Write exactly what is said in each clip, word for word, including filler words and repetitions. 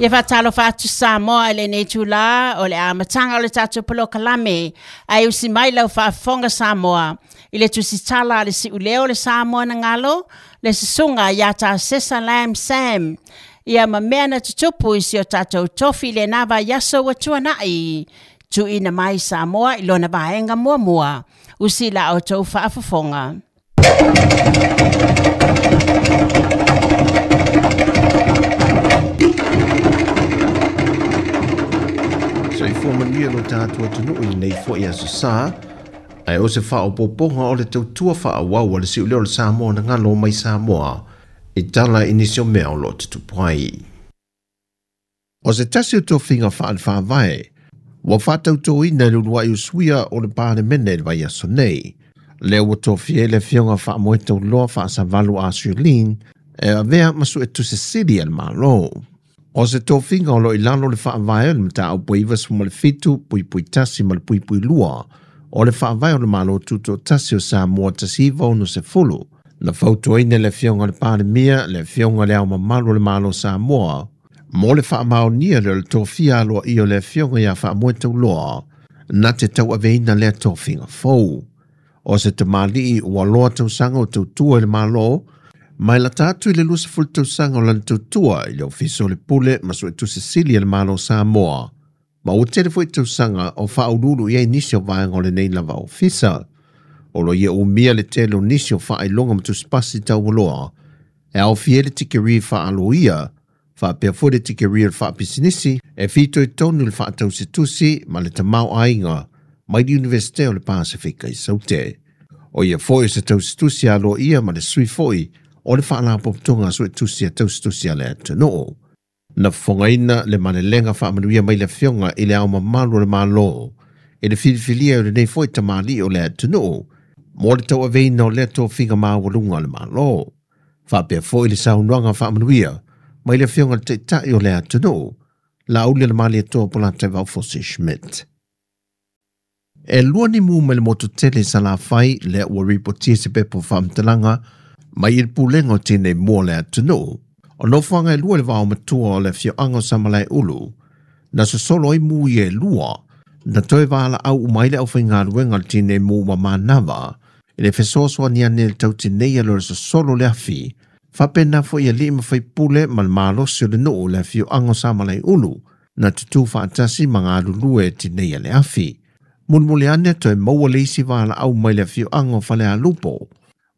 Ia faatalofa atu Samoa i lenei itulā o le amataga o le tatou polokalame ae usi mai lau faafofoga Samoa i le tusitala a le siuleo o le Samoa na galo le susuga ia Tasesa Lam Sam ia ma mea na tutupu i si o tatou tofi i lena vaiaso ua tuanai tuuina mai Samoa i lona vaega muamua usi la outou faafofoga. Soifua manuia lo tatou atunuu i lenei foi aso sa ae o se faaopopoga o le tautua faaauau a le siuleo o le Samoa na galo mai Samoa i tala i nisi o mea o loo tutupu ai. O se tasi o tofiga faale-faavae ua faatautoina i le uluai usuia o le Palemene i le vaiaso nei. Lea ua tofia ai le afioga Faamoetauloa Faasavalu Arthur Lean e avea ma suetusi sili a le Malo. O se tofiga o lo o i lalo o le faavae o le mataupu e iva sefulu ma le fitu puipui tasi ma le puipui lua o le faavae o le Malo Tutoatasi o Samoa tasi iva ono sefulu. Na fautuaina le afioga i le Palemia, le afioga i le Ao Mamalu o le Malo Samoa, mo le faamaonia lea o le tofia aloaia o le afioga ia Faamoetauloa na te tauaveina lea tofiga fou. O se tamalii ua loa tausaga o tautua i le Malo, mai lata atu i le luasefulu tausaga o lana tautua i le Ofisa o le Pule ma Suetusi Sili a le Malo Samoa, ma ua tele foi tausaga o faauluulu i ai nisi o vaega o lenei lava ofisa. O lo ia umia le tele o nisi o faailoga ma tusipasi taualoa e aofia ai le tikeri faaloia, faapea foi le tikeri o le faapisinisi e fitoitonu i le faatausitusi ma le tamaoaiga mai le Iunivesite o le Pasefika i Saute. O ia foi o se tausitusi aloaia ma le sui foi o le faalapotopotoga a suetusi a tausitusi a le atunuu. Na fofogaina le malelega faamanuia mai le afioga i le Ao Mamalu o le Malo i le filifilia o lenei foi tamalii o le atunuu mo le tauaveina o lea tofiga maualuga o le Malo. Faapea foi le saunoaga faamanuia mai le afioga i le Taitai o le atunuu, Laaulialemalietoa Polataivao Fosi Schmidt. E lua ni mu mai le motu tele i Salafai lea ua ripotia se pepa o faamatalaga mai i le pulega o tinei mu o le atunuu. O nofoaga e lua i le vaomatua o le afioaga o Samalaeulu, na sosolo ai mu ia e lua, na toe valaau uma ai le aufaigaluega o le tinei mu ma manava i le fesoasoani ane i le tautineia lea o le sosolo o le afi, faapena foi alii ma faipule ma le malosi o le nuu o le afioaga o Samalaeulu na tutū faatasi ma galulue e tineia le afi. Mulimuli ane toe maua le isi valaau mai le afioaga o Falealupo,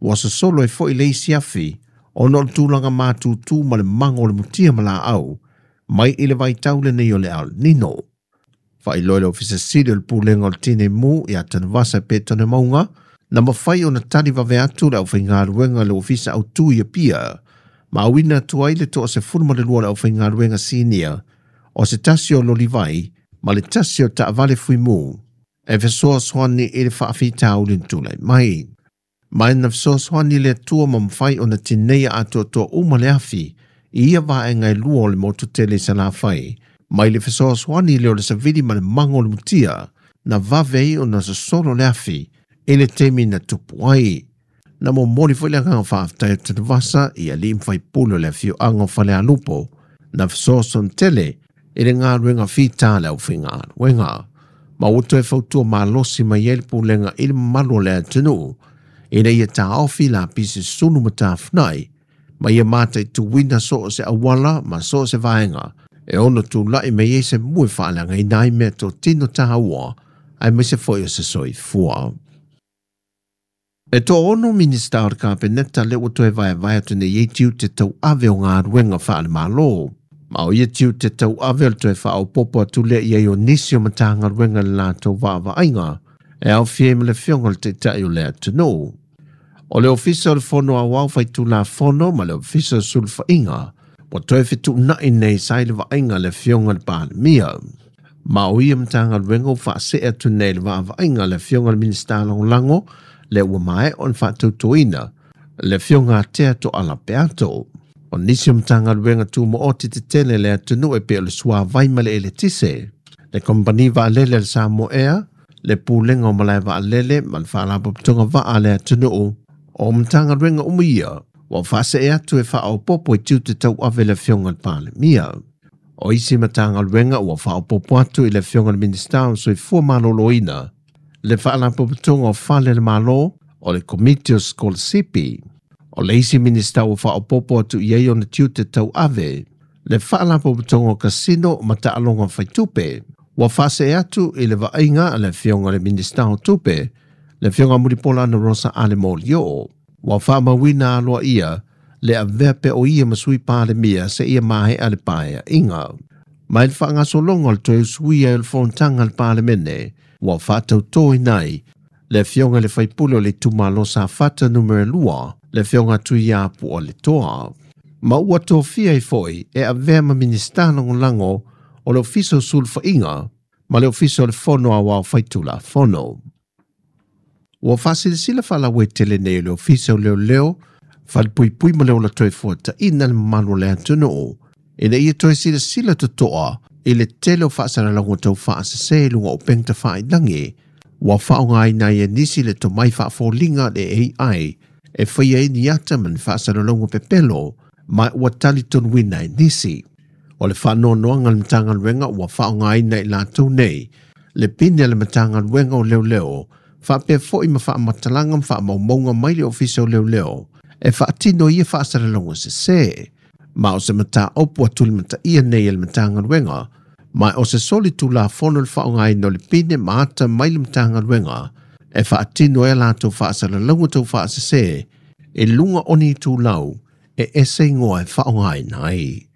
ua sosolo ai foi le isi afi ona o le tulaga matutu ma le mago o le mutia ma laau mai i le vaitau lenei o le El Nino. Faailoa e le Ofisa Sili o le Pulega o le Tinei Mu ia Tanuvasa Petone Mauga, na mafai ona tali vave atu le aufaigaluega i le Ofisa Autu i Apia, ma auina atu ai le toasefulu ma le lua o le aufaigaluega sinia o se tasi o lolivai ma le tasi o taavale fuimu e fesoasoani i le faafitauli na tulai mai. Ma na fesoasoani le Atua ma mafai ona tineia atoatoa uma le afi i ia vaega e lua o le motu tele i Salafai, mai le fesoasoani lea o le savili ma le mago o le mutia, na vave ai ona sosolo le afi i le taimi na tupu ai. Na momoli foi le agaga faafetai o Tanuvasa i alii ma faipule o le afioaga o Falealupo, na fesoasoani tele i le galuega fita a le aufaigaluega. Ma ua toe fautua malosi mai ai le pulega i le mamalu o le atunuu, ina ia taofi lapisi sulu ma tafunai, ma ia mataituina so o se auala ma so o se vaega e ono tulai mai ai se mu e faaleagaina ai meatotino taua aemaise foi o se soifua. E toaono Minisita o le Kapeneta lea ua toe vaevae atu nei ai tiute tauave o galuega faale-Malo. Ma o ia tiute tauave o le toe faaopoopo atu lea i ai o nisi o Matagaluega i le latou vaavaaiga e aofia ai ma le afioga i le Taitai o le atunuu. O le Ofisa o le Fono Aoao Faitulafono ma le Ofisa o Sulufaiga ua toe fetuunai nei sa i le vaaiga a le afioga i le Palemia. Ma o ia Matagaluega ua faasee atu nei i le vaavaaiga a le afioga i le Minisita Lagolago lea ua maea ona faatautoina le afioga Tea Tooala Peato. O nisi o Matagaluega tumaoti tetele le atunuu e pei o le Suavai ma le Eletise, le Kamupani Vaalele a le Samoa Air, le Pulega o Malae Vaalele ma le Faalapotopotoga Vaa a le atunuu, o Matagaluega uma ia ua faasee atu e faaopoopo i tiute tauave le afioga i le Palemia. O isi Matagaluega ua faaopoopo atu i le Afioga i le Minisita o Soifua Maloloina, le Faalapotopotoga o Fale a le Malo, o le Komiti o Sikolasipi. O le isi Minisita ua faaopoopo atu i ai ona tiute tauave, le Faalapotopotoga o Kasino ma Taaloga Faitupe. Ua faasee atu i le vaaiga a le Afioga i le Minisita o Tupe, le Afioga Mulipola Anarosa Ale Molioo. Ua faamauina aloaia le avea pea o ia ma sui Palemia seia maea le paeaiga. Mai le faagasologa o le toe usuia o le fonotaga a le Palemene, ua faatautoina ai le Afioga i le Faipule o le Itumalo Safata numera lua, le Afioga Tuiapualetoa. Ma ua tofia ai foi e avea ma Minisita Lagolago o le Ofisa o Sulufaiga ma le Ofisa o le Fono Aoao Faitulafono. Ua faasilasila faalauaitele nei le Ofisa o Leoleo, Falepuipui ma le Ola Toe Fuataina le mamalu o le atunuu, ina ia toe silasila totoa i le tele o faasalalauga tau faasese i luga o upega tafailagi, ua faaaogaina ai e nisi le tomai faafoliga le A I e faia ai ni ata ma ni faasalalauga pepelo, ma ua talitonuina e nisi. O le faanoanoaga le Matagaluega ua faaaogaina i latou nei, le pine a le Matagaluega o Leoleo, faapea foi ma faamatalaga ma faamaumauga mai le Ofisa o Leoleo, e faatino ia faasalalauga sese. Ma o se mataupu atulimataia nei e le Matagaluega, ma o se soli tulafono le faaaogaina o le pine ma ata mai le Matagaluega, e faatino ai latou faasalalauga tau faasese, e luga o ni itulau e ese igoa e faaaogaina ai.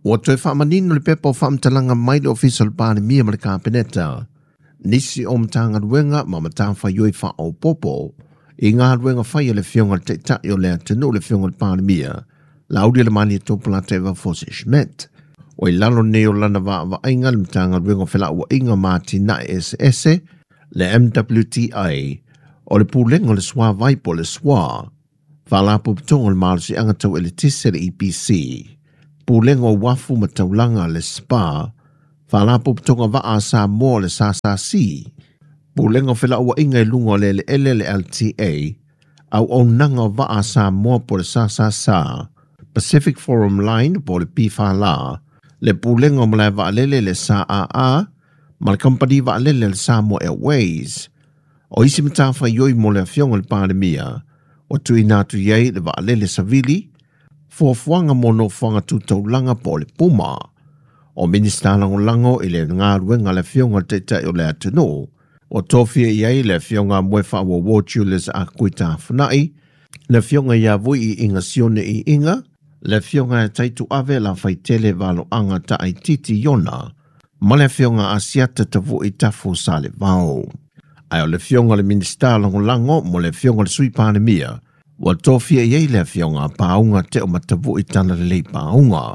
Ua toe faamanino le pepa o faamatalaga mai le Ofisa o le Palemia ma le Kapeneta, nisi o Matagaluega ma matafaioi faaopoopo i galuega fai a le Afioga i le Taitai o le atunuu le Afioga i le Palemia, Laaulialemalietoa Tupolaateva Fose Schmidt. O i lalo nei o lana vaavaaiga le Matagaluega o Felauaiga ma Atinae Eseese, le M W T A, o le Pulega o le Suavai po o le S W A, Faalapotopotoga o le Malosiaga Tau Eletise le E P C, Pulega o Uafu ma Taulaga le S P A, Faalapotopotoga Vaa a Samoa le S S C, Pulega o Felauaiga i luga o le Eleele le L T A, Auaunaga o Vaa a Samoa po o le S S S A, Pacific Forum Line po o le P F L A, le Pulega o Malae Vaalele le S A A, ma le Kamupani Vaalele le Samoa Airways. O isi matafaioi mo le Afioga i le Palemia, o tuuina atu i ai le vaalele savili, fuafuaga mo nofoaga tutaulaga po o le Puma. O Minisita Lagolago i le galuega a le Afioga i le Taitai o le atunuu, o tofia i ai le Afioga Moefaauouo Julius Akuitafunai, le Afioga ia Vui i Iga Sione i Iga, le Afioga e Taituave Lafaitele Valoaga Taaititi Iona, ma le Afioga Asiata Tavui Tafu Salevao. Ae o le Afioga le Minisita Lagolago mo le Afioga le Sui Palemia, ua tofia i ai le Afioga Paauga Teo Matavui Talalelei Paauga.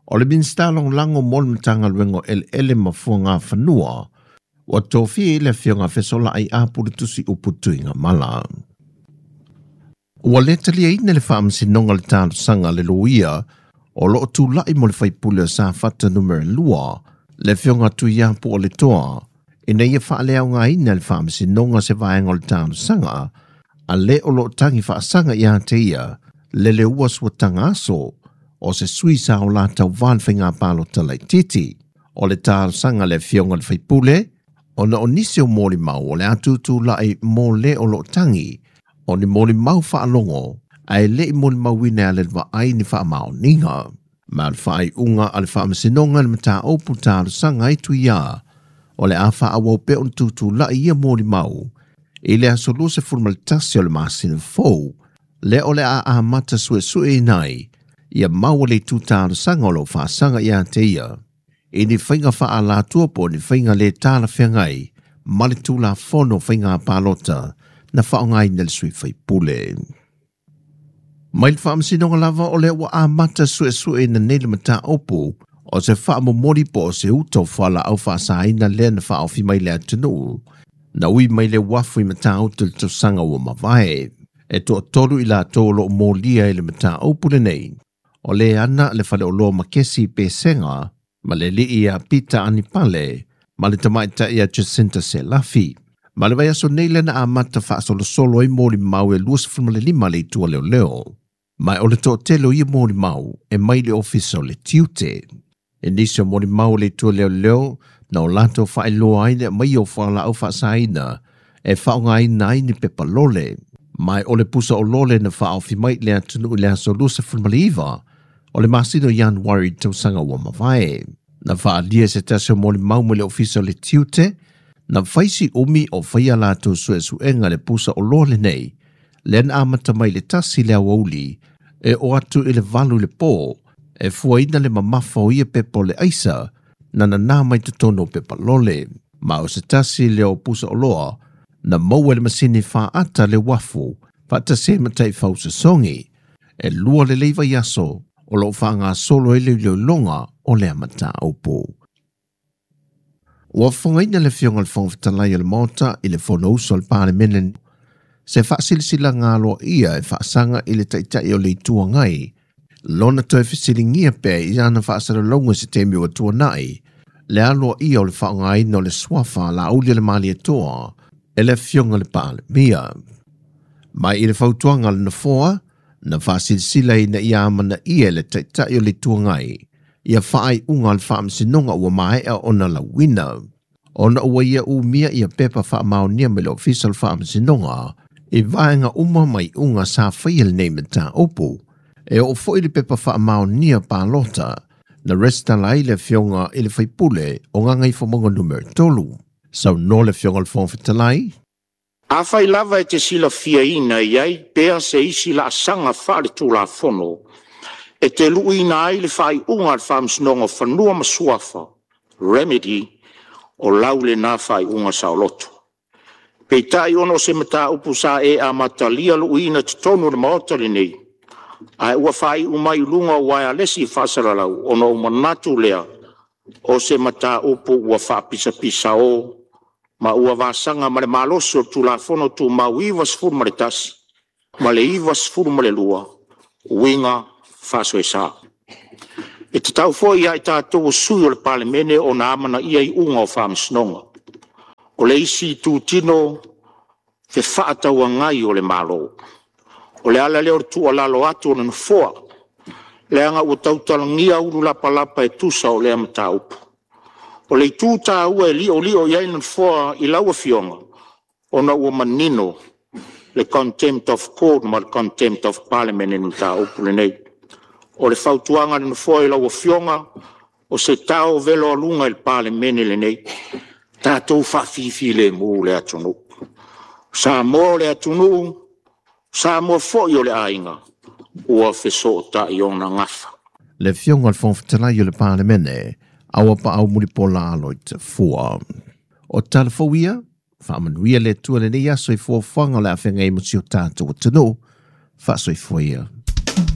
O le Minisita Lagolago mo le Matagaluega o Eleele ma Fuagafanua, ua tofia i le Afioga Fesolai Apulutusi Upu Tuigamala. Ua le taliaina le faamasinoga le talosaga le loia o loo tulai mo le faipule o Safata numera lua, le Afioga Tuiapualetoa, ina ia faaleaogaina le faamasinoga se vaega o le talosaga, a le o loo tagi faasaga ia te ia, le leua suataga aso, o se sui sa o la tauva le faiga palota laitiiti. O le talosaga le Afioga le faipule, ona o nisi o molimau o le atutulai mo le o loo tagi, o ni molimau faalogo, ae le i molimauina a le vaai ni faamaoniga. Ma le faaiuga a le faamasinoga le mataupu talosaga ai tuia, o le a faaauau pea ona tutulai ia molimau, i le aso luasefulu ma le tasi o le masina fou, le o le a amata suesueina ai, ia maua le itu talosaga o loo faasaga ia te ia, i ni faiga faalatua po o ni faiga le talafeagai, ma le tulafono faiga palota, na faaaogaina le sui faipule. Mai le faamasinoga lava o le ua amata suesueina nei le mataupu, o se faamomoli po o se uta o fualaau faasaina lea na faaofi mai le atunuu, na ui mai le uafu i matautu le tausaga ua mavae. E toatolu i latou o loo molia i le mataupu lenei. O le ana le faleoloa Makesi Pesega, ma le alii ia Pita Anipale, ma le tamaitai ia Jacinta Selafi. Ma le vaiaso nei le na amata faasolosolo ai molimau e luasefulu ma le lima le itu a leoleo. Mai o le toatele o ia molimau e mai le ofisa o le tiute. E nisi o molimau o le Itua Leoleo na o latou faailoa ai le aumaia o fualaau faasaina e faaaogaina ai ni pepa lole. Mai o le pusa o lole na faaofi mai le atunuu i le aso luasefulu ma le iva o le masina o Ianuari tausaga ua mavae. Na faalia se tasi o molimau mai le ofisa o le tiute, na faisi umi o faia latou suesuega le pusa o lole nei, lea na amata mai le tasi le aoauli e o atu i le valu i le pō, e fuaina le mamafa o ia pepa o le aisa, na nanā mai totonu o pepa lole. Ma o se tasi lea o pusa oloa, na maua le masini faata le uafu, faatasi ai ma taifau sosogi. E lua lelei vaiaso o loo faagasolo ai le iloiloga o lea mataupu. Ua fofogaina le Afioga i le Fofoga Fetalai o le Maota i le Fonousu a le Palemene se faasilasilaga aloaia e faasaga i le Taitai o le Itu Agai, lona toe fesiligia pea i ana faasalalauga se taimi ua tuanai, le aloaia o le faaaogaina o le suafa a Laauli o le Malietoa e le Afioga i le Palemia. Mai i le fautuaga a le Nofoa, na faasilasila ina ia amanaia e le Taitai o le Itu Agai ia faaiuga a le Faamasinoga ua maea ona lauina. Ona ua ia umia ia pepa faamaonia mai le ofisa o le Faamasinoga i vaega uma mai iuga sa faia lenei mataupu. E oo foi le pepa faamaonia palota na resitala ai le Afioga i le Faipule o Gagaifomauga numera tolu. Saunoa le Afioga i le Fofoga Fetalai. Afai lava e te silafiaina e i ai pea se isi laasaga faaletulafono e te luiina ai le faaiuga a le Faamasinoga o Fanua ma Suafa, remedy, o lau lena faaiuga saoloto. Peitai ona o se mataupu sa e amatalia luiina totonu o le Maota lenei, ae ua faaiu mai i luga o uaealesi faasalalau ona ou manatu lea o se mataupu ua faapisapisao ma ua vasaga ma le malosi o le Tulafono Tumau ivasefulu ma le tasi ma le ivasefulu ma le lua uiga faasoesa. E tatau foi ia i tatou o sui o le Palemene ona amanaia iuga o faamasinoga. O le isi itutino fefaatauagai o le Malo. O le ala lea o le tuualalo atu o le Nofoa, leaga ua tautalagia ulu lapalapa e tusa o lea mataupu. O le itu taua e liolio i ai le Nofoa i lau Afioga, ona ua manino le contempt of court ma le contempt of parliament i le mataupu lenei. O le fautuaga a le Nofoa i lau Afioga, o se tao velo aluga i le Palemene lenei, tatou faafifilemu le atunuu. Samoa o le atunuu, Samoa foi o le aiga, ua fesootai ona gafa. Le Afioga i le Fofoga Fetalai o le Palemene, Auapaau Mulipola Aloitafua. O tala fou ia, faamanuia le Atua i lenei aso i fuafuaga o le a feagai ma si o tatou atunuu. Faasoifua ia.